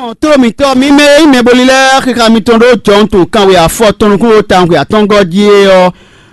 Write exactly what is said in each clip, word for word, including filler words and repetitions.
Tlóló mǐtɔn, mi mɛ e nyí mɛbolí lɛ́ɛ, xixa mitɔn ɖó jɔhɔn tɔn kanwe afɔ tɔn nukún ɖo tawun xwe atɔ́ngɔ́ jí é ɔ́,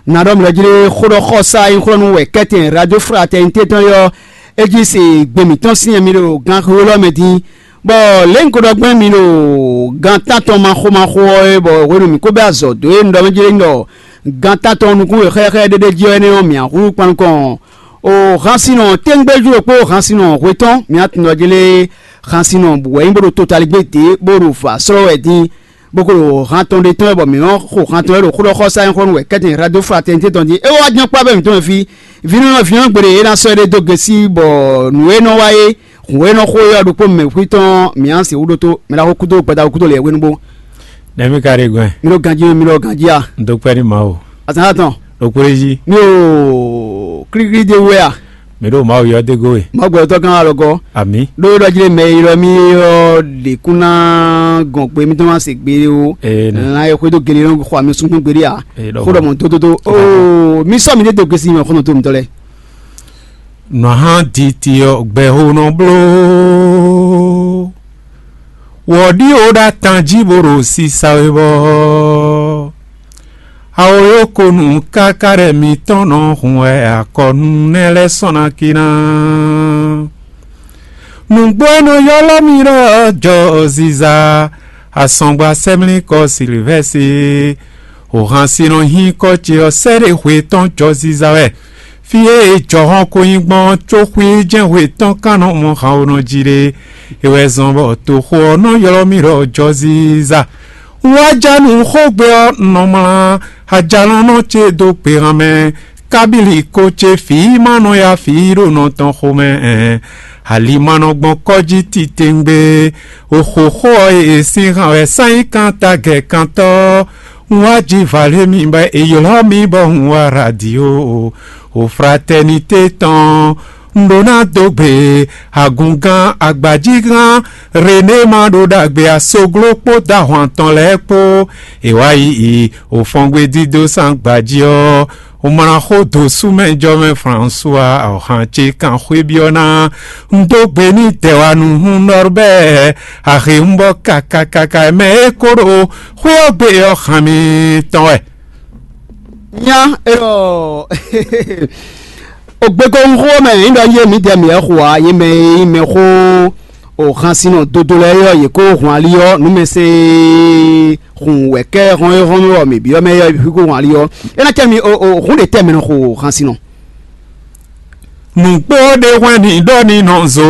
nǎ ɖɔ mlɔ̌ jí ɖé xó ɖɔ xɔsá e nyí xlɔ́nú wɛ kɛ́tɛn Radio Fraternité tɔn é ɔ́, é jí se gbe mǐtɔn sín mi ɖo ganxixo élɔ́ mɛ dín, bɔ lě un ko ɖɔ gbɛn mi ɖo gan tántɔn maxo maxo ɔ́ é, bɔ hwenu mǐ ko bɛ́ azɔ̌ dó é un ɖɔ mɛ jí ɖé un ɖɔ gan tántɔn nukún e xɛ́xɛ́ ɖéɖé jí ɔ́ énɛ́ ɔ́, mǐ húzú kpan nukɔn. O hansinɔ téngbéjú ɖokpó hansinɔ hwetɔ́n mǐ tunwun jí lé hansinɔ wɛ nyí bó ɖo totaligbé dě bó ɖo vǎ slɔ́ wɛ dín, bó ko ɖo han tɔn ɖé tɔn wɛ bɔ mǐ nɔ xo han tɔn wɛ ɖo xó ɖɔ xɔsá nyɔ́xɔ́nú wɛ kɛ́tɛn Radio Fraternité tɔn jí. É wá jɛ́n kpá bɛ́ mǐtɔn fí, vǐnɔ́nɔ vǐnɔ́ gbe ɖé é ná sɔ́ éɖée dó gosí bɔ nǔ e nɔ wa é, hǔn e nɔ xo é ɔ́ ɖokpó mɛ xwí tɔn mǐ á sixú ɖótó mɛ ɖaxó kúdó gbadaxó kúdó lě hwenu bó. Nɛ̌ mì ka ɖe gbɛn? Mi ɖo ganjí, mi ɖo ganjí a? Un dó kpɛ́ nú Mawu. Azǎn atɔn. Ɖo kplé jí. Mi ɖo klíklí dé wú wɛ a? Mi ɖo Mawu yɔ dé gó we. Mawu gbɛtɔ́ gán alɔgɔ́. Amǐ. Ɖó ɖɔ jí ɖé mɛ e ylɔ́ mì ɔ́ ɖě kún ná gɔn gbe mítɔn má se gbe ó. Ee, nɛ. Lan e xwedó gele nɔ xɔ ami súngbɛ́n gbeɖé a? Ee, ɖɔ Xó ɖɔ mɔ. Mɔ dódódó. Oo, mi sɔ́ mi ɖé dó gesi mɛ xɔnɔ tó mitɔ́ lɛ́ɛ. Nɔ hán titi ɔ́ gbɛxó nɔ bló. Wɔ ɖíwo ɖo atan jí bó ɖo sisa we bɔ awoyókonu káká ɖɛ mitɔn nɔ hun wɛ akɔnu nɛ́ lɛ́ɛ sɔ́ ná kí ná. Nǔgbó e nɔ ylɔ́ mì ɖɔ jɔ ziza asɔngba sɛmlíkɔ Silivɛ́si, o hansinɔ nyíkɔ ce ɔ́ sɛ́ ɖe hwe tɔn jɔ ziza wɛ. Fí e jɔhɔn ko nyí gbɔn có xwí jɛ́n hwe tɔn kan nɔ mɔ hanwonɔ jí ɖe. É wɛ zɔn bɔ toxo ɔ́ nɔ ylɔ́ mì ɖɔ jɔzíza. Un wá ja nǔ xógbe ɔ́, un nɔ mlá ajalɔ́nɔ ce dó gbehan mɛ, kábílì ko ce fǐ ma nɔ ya fǐ ɖo nɔ tɔn xomɛ. Ɛn, ali ma nɔ gbɔn kɔ́ jí titewungbe. Oxoxo ɔ́ e sín han wɛ sán nyí kan tagɛ kantɔ́. Un wá ji vǎ lé mi bɔ è ylɔ́ mì bɔ un wá radio o fraternité tɔn. Un ɖó ná dó gbe agungán agbajígán René ma ɖó ɖagbe asogló kpó dó ahwan tɔn lɛ́ɛ kpó. È wá yi òfɔngbe dídó sán gbají ɔ́, un mlá xó dó súmɛjɔmɛ François ɔ̀han ce kan xwé byɔ́ ná. Un dó gbe n'i dɛwanu hun Norbert ahe un bɔ kakakaka mɛ e ko ɖo xwé ɔ́ gbe ɔ́ han mi tɔn wɛ. Nya erɔ ogbékɔ́hún xó mɛ nyí ɖɔ yé mǐdɛɛ mǐ wɛ xo ǎ, yé mɛ e nyí mɛ xó o hansinɔ dodo lɛ́ɛ ɔ́, yě kó hun ali ɔ́, nǔmɛsɛn e hun wɛ̌kɛ́ hɔn e hɔn ɔ́ mǐ byɔ́ mɛ ɔ́, hwí kó hun ali ɔ́, é ná cɛ mi o o hún ɖě tɛ mɛ nɔ xo hansinɔ. Nǔgbó ɖé hwɛ́n nǐ ɖɔ ní nɔ zo.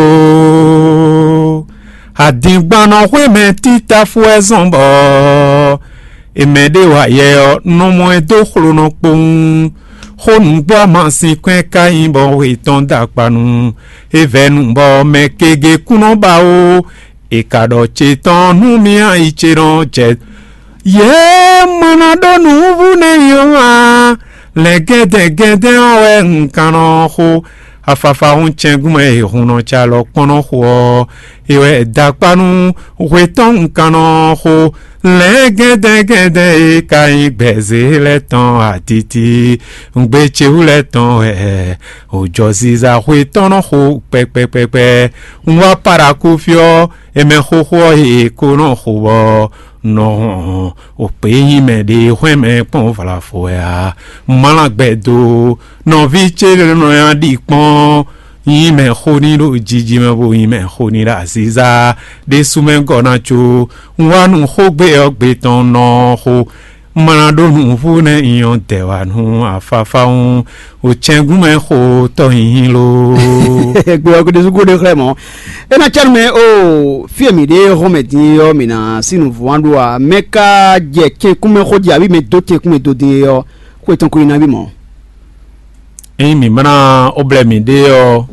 Adingbannɔ xwé mɛ títáfú wɛ zɔn bɔ è mɛ ɖé wa yɛ ɔ́, nɔ mɔ ɛ dó xlonɔ kpowun. Xó nǔgbó amasin kwɛ́ ka nyí bɔ hwe tɔn dó akpa nu. É vɛ́ nu bɔ mɛ kegě kún nɔ ba ó. È ka ɖɔ ce tɔn nú mì ayi ce nɔ jɛ. Yě mɔ ná ɖó nǔvú nɛ́ nyí ɔ́ ǎ. Lɛ̌ gɛ́dɛ́ gɛ́dɛ́ ɔ́ wɛ un kan nɔ xo. Afafa hún cɛ́ngún mɛ e hun nɔ ca lɔ kpɔ́n nɔ xo ɔ́, é wɛ da akpá nú hwe tɔn un kan nɔ xo. Lɛ̌ gɛ́dɛ́ gɛ́dɛ́ e ka nyí gbɛ̌zé lɛ́ɛ tɔn atiti, un gbe ce wú lɛ́ɛ tɔn wɛ. Òjɔziza xwe tɔn nɔ xo kpɛkpɛkpɛkpɛ. Un wá Paraku fí ɔ́, è mɛ xóxó ɔ́ he ko nɔ xo bɔ nɔ hɔn o kpě nyi mɛ ɖě hwɛ́n mɛ kpɔ́n vlafɔ wɛ ǎ. Mlá gbɛ do nɔví ce nɔ ya ɖi kpɔ́n nyi mɛ xo ní ɖo jiji mɛ bo nyi mɛ xo ní ɖo aziza ɖésú mɛ gɔ́ ná có. Un wá nu xógbe ɔ́ gbe tɔn nɔ xo. Mlá ɖó nǔvú nɛ́ nyɔ dɛ̌ wá nú afáfá ɔ́, o cɛ́ngún mɛ xo tɔ́ nyinyi lo. Gbe ɔ́ gbe ɖésú gúdo xlɛ́ mɔ̌. É ná cɛ́nú mɛ o fí e mǐ ɖe hɔn mɛ din ɔ́, mǐ ná sí nǔvú wán ɖó a? Mɛ ka jɛ cɛ́nkún mɛ xó jí abǐ mɛ dó cɛ́nkún mɛ dó din ɔ́, xó etɔn ko nyi nabí mɔ̌. Ényí mǐ mlá ó blɛ́ mǐɖée ɔ́,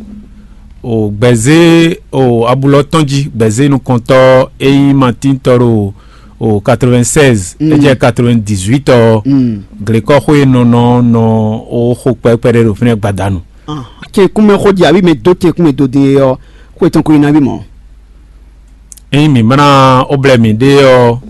o gbɛ̌zé o abulɔ tɔn jí, gbɛ̌zé nukɔntɔ́ e nyí Matín tɔn ɖo o quatre-vingt-seize, é jɛ quatre-vingt-dix-huit ɔ́, glekɔ́xo e nɔ nɔ nɔ o xo kpɛkpɛ ɖé ɖo fínɛ́ gbadanu. Cɛn kúnmɛ xó jí abǐ mɛ dó cɛn kúnmɛ dó din é ɔ́, xó etɔn ko nyi nabí mɔ̌. Ényí mǐ mlá ó blɛ́ mǐɖée ɔ́,